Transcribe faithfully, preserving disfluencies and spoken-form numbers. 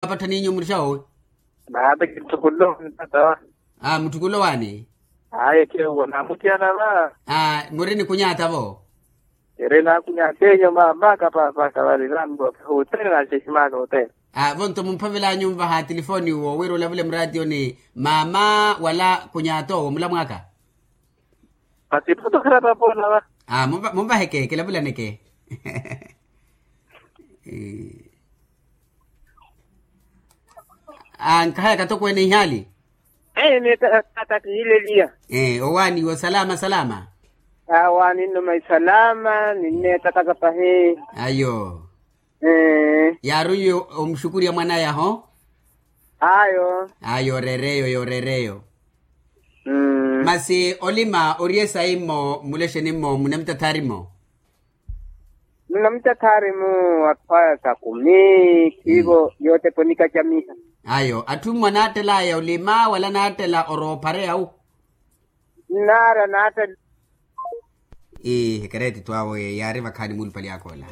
Apatthaninyu murixawo? Naate kinthukulo ntata. Aa mutthukulo waani? Aye khewo namuthiyana va. Aa muri ni kunyaata vo? Eri nakunyaatenyu mama kapaapaka vali nambo. Othene naxeximaka othene. Aa vonto mumphavelanyu nvaha tilifooni wo wira olavule muraatiyoni mama wala kunyaata owo mulamwaka? Masi iphuto khira papoona va. Aa munvaheke kilavulaneke. Aa nkahaya katokweene ihaali. Ee neetaka tata kiileliya. Ee owaaniwe osalama salama. Awaani nnuma isalama ninneetaka sapahi. Ayo. Ee yaari omuxukuriya mwanaya ho. Ayo. Ayo oreereyo yooreereyo. Masi olima ori esayi mmo mulexeni mmo munamitathari mmo. Munamitathari mmo atthu aya sakumi khiivo yooteponika camiha. Ayo atthu mmo anaattelaya olima wala anaattela oroophareya wu? Nnaara anaattela. Ii ekereeti twawe yaari vakhaani muulupali akoola.